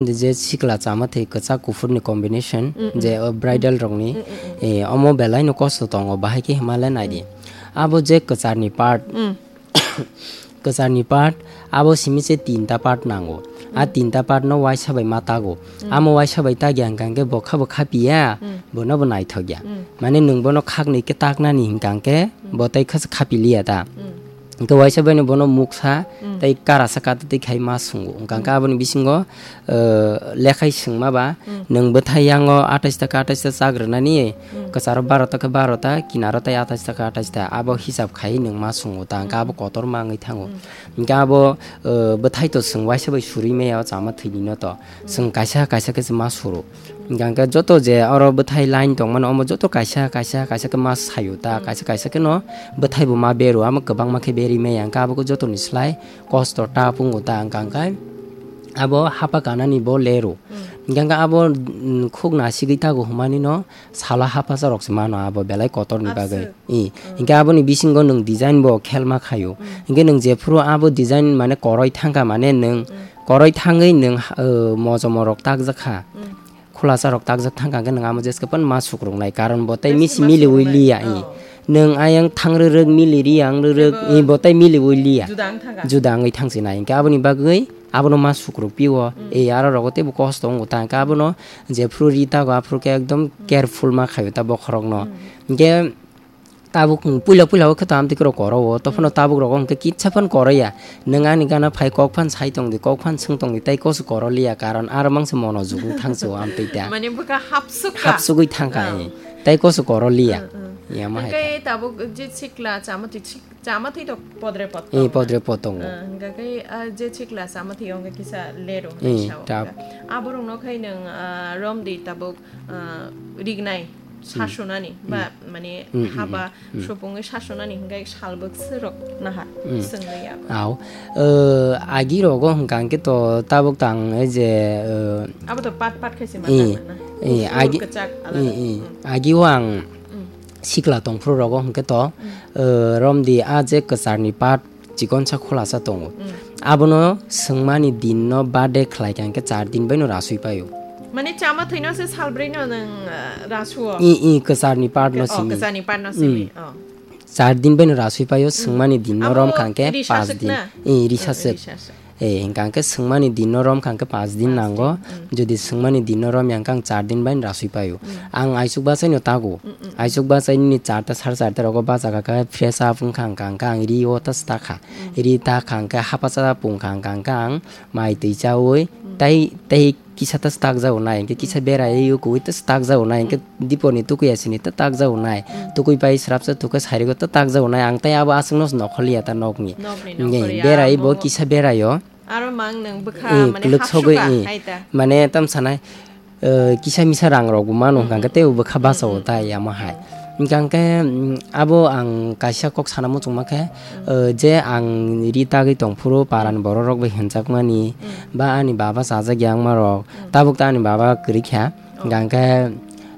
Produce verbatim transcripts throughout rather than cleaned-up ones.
je sikla chama thwi kwchak kuphurni combination, Mm, mm. je, o, bridal rokni, Mm, mm, mm. eh, omo belai no kosto tongo, bahai khe himale nai di. Mm. Abo je kwcharni part, Mm. kwcharni part, abo simi se tinta part nango. A Mm. tinta part no waisa bai ma tago. Mm. Amo waisa bai tagya hwnkha hwnkhe bo kha bo khapiya, Mm. bono bo naithokya. Mm. Mane nwng bono khaknwi khe taknani hwnkha hwnkhe Mm. bo tai kha se khapiliya ta. Mm. Hwnkhe waisa bai no bono muksa Mm. tei karasa kata twi khai ma sungo. Hwnkha hwnkhe Mm. aboni bisingo, eh, lekhai swngma ba, Mm. nwng bwthai yango atais taka atais ta chak rwnani, Mm. kwcharo baro ta khe baro ta, kinaro tai atais taka atais ta. Abo hisab khai nwng ma sungo ta, hwnkhe abo Mm. kotor ma wngwi thango. Mm. Hwnkhe abo, eh, bwthai to swng waisa bai surwi maya o chama thwini no to. Mm. Swng kaisa kaisa khe se ma suru. Hwnkha hwnkhe joto je oro bwthai line tongmani omo joto kaisa kaisa kaisa khe ma sayu ta, Mm. kaisa kaisa khe no bwthai bo ma beru, amo kwbangma khe beri maya, hwnkhe abo khe jotoni slai kosto ta pungo ta, hwnkha hwnkhe abo hapa kanani bo leru. Mm. Hwnkha hwnkhe abo, mm, khuk nasigwi tago hwnmani no sala hapasa rok se mano abo belai kotorni bagwi. Aswk. I, Mm. hwnkhe aboni bisingo nwng design bo khelma khayo. Mm. Hwnkhe nwng jephuru abo design mane koroi thangkha mane nwng Mm. koroi thangwi nwng, uh, mojomo rok takjak kha. Mm. Khulasa rok takjak thangkha hwnkhe nwng amo jeske phano ma sukruknai, karon bo tei Jeske misi ma miliwi sukruknai. Liya, i. Oh. Nwng ayang thang rwrwk, mili riyang rwrwk, Jebo i, bo tei miliwi liya. Juda wng thangkha. Juda wngwi thangsinai. Hwnkhe aboni bagwi abono ma sukruk pio. Mm. I, aro rogo teibo kosto wngo ta. Hwnkhe abono jephuru ri tago, aphuru khe ekdom Mm. careful ma khaio ta bokhorokno. Mm. Hwnkhe tabuk, mm, puila puila o khe to amtwi kwrwk koro o, tophano Mm. tabuk rogo hwnkhe kitsa phano koroya. Nwng ani gana phai kok phan sai tongdi, kok phan swng tongdi, tei koso koro liya, karon aro mangsa mono jugwi thangsi o amtwi ta. Mane bwkha hapsuk kha. Hapsugwi thangkha, Oh. eh. Tei koso koro liya. Mm, mm. Yama hai Hwnkhe ta. Tabuk je sikla chama twi sik-, chama twi to podre pod Eh, tongo. Podre pod tongo. Eh, hwnkha khe, ah, je sikla chama twi o hwnkhe kisa leru Eh, hwnwi sao tab. Hwnkha. Aborokno khai nwng, ah, romdi tabuk, ah, rignai. Mm. Sasonani ba Mm. mane Mm, mm, haba mm, mm. Supungwi sasonani hwnkhe salbwk swrwk nahar Mm. Swngwi abo. Au. Eh, agi rogo hwnkha hwnkhe to tabuk tang e je, eh, Abo to pat pat khaise eh, manna na. Eh, Kufur agi, kwchak alada. Eh, eh. Mm. Agi o ang Mm. sikla tongphuru rogo hwnkhe to, Mm. eh, romdi a je kwcharni pat chikonsa khulasa tongo. Mm. Abono swngmani dinno birthday khlaikha hwnkhe char din baino rasui paio. Mane chama thwino se salbrwino nwng, ah, rasuo? I, i, kwcharni part no Oh, simi. Kwcharni part no Mm. Simi. Oh. Char din baino rasui paio, Mm. Swngmani dinno Abo romkha hwnkhe risa paanch suk din. Na? I, risa Oh, suk. Risa suk. Eh, hwnkha hwnkhe swngmani dinno romkha hwnkhe paanch din Paanch nango. Din. Mm. Jodi swngmani dinno romya hwnkhe ang char din baino rasui paio. Mm. Ang aisuk bachaino tago. Mm, mm, mm. Aisuk bachaini charta, sare charta rogo bachakha khe fresh up wngkha hwnkha hwnkhe ang ri o ta stakha. Mm. Ri ta kha hwnkhe hapasa pungkha hwnkha hwnkhe ang mai twi chaui Mm. tei, tei kisa ta stakjago nai, hwnkhe kisa Mm. berai o kui ta stakjago nai, hwnkhe Mm. dipor ni tukui asini ta takjago nai. Mm. Tukui pai srapsa tukhe sairigo ta takjago nai. Ang tei abo aswkno nokhorliya ta nokni. Nokni Nge, nokhorya berai bo amo. Kisa berai o. Aro mang nwng bwkha Eh, mane kwlwk sogwi, hapsuka eh. Hai ta. Mane tam sanai, eh, kisa misa rang rok bo mano Mm, hwnkha hwnkhe mm. Tei bo bwkha Mm, bachao mm, ta mm, yamo hai. Mm. Hwnkha hwnkhe, mm, abo ang kaisa kok sana muchungma khe, Mm. eh, je ang ri tagwi tongphuru paran Mm. borok rok bai hwnjakmani, Mm. ba ani baba chajak yangma rok, Mm. tabuk ta ani baba kwrwi kha. Oh. Hwnkha hwnkhe,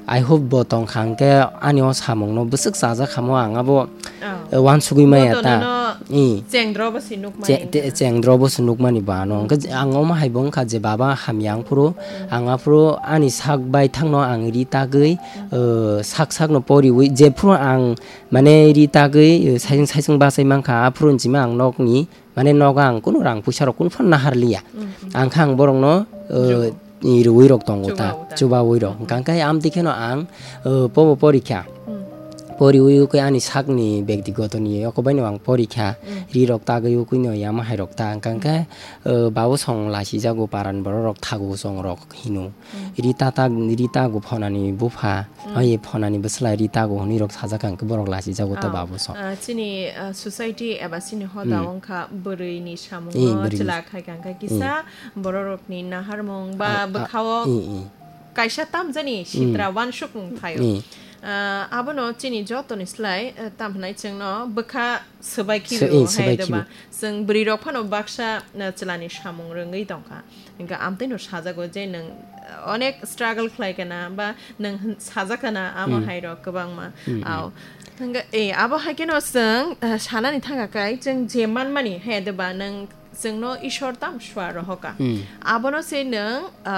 I hope bo tongkha hwnkhe ani o samungno bwswk chajak khamo ang abo, Oh. eh, wansugwi maya Bo ta. Tonino Eh. Chengdro bo se nukmani Che-, te-, wngkha. Chengdro bo se nukmani bo ano. Mm. Hwnkhe ang omo hai bo wngkha je baba hamya wngphuru, Mm. ang aphuru ani sak bai thangno ang ri tagwi, Mm. eh, sak sakno poriwi jephuru ang mane ri tagwi, eh, saisung saisung bachai mankha aphuru hinchima ang nokni Mane nogo ang kunu rang puisa rok kunu phano nahar liya. Mm, mm. Ang kha ang borokno, uh, Chubawi. I rwi rok tongo ta, Chubawi ta. Chubawi rok. Mm, mm. Hwnkha khe amtwi kheno ang, uh, pobo porikha. Mm. Poriwi khe ani sakni bektigoto ni yokobai no ang porikha. Mm. Ri rok tagwi ukui no yama hai rok ta. Hwnkha khe, Mm. uh, babo song lasijago paran borok rok thago song rok hino. Mm. Rita ta, Rita go phonani bupha. Mm. Hai phonani bwsla Rita go hwnwi rok sajak ang khe borok lasi jago to Ah, babo so. Ah, chini, ah, society eba chini hoda Mm. wngkha bwrwi ni samung Eh, no bwrwi ni chwla khai kha kisa Mm. borok rok ni naharmung ba Ah, ah, bwkha o eh, eh. Kaisa tamjani Mm. sitra wansuk wng phaio. Eh. Ah, abono chini joto ni slai, ah, tam hwnai chwngno bwkha swbai So, khibi eh, o hai swbai khibi. Deba. Chwng bwrwi rok phano baksa, ah, chwla ni samung rwngwi tongkha. Hingke amtwino sajago je nwng onek struggle khlai kana ba nwng hwn-, sajak kana amo Hmm. hai rok kwbangma. Hmm, hmm. Ao. Hingke, eh, abo hai kheno chwng, eh, sanani thangka kai chwng je manmani he de ba nwng chwngno Ishwar tam swa rohoka. Hmm. Abono se nwng,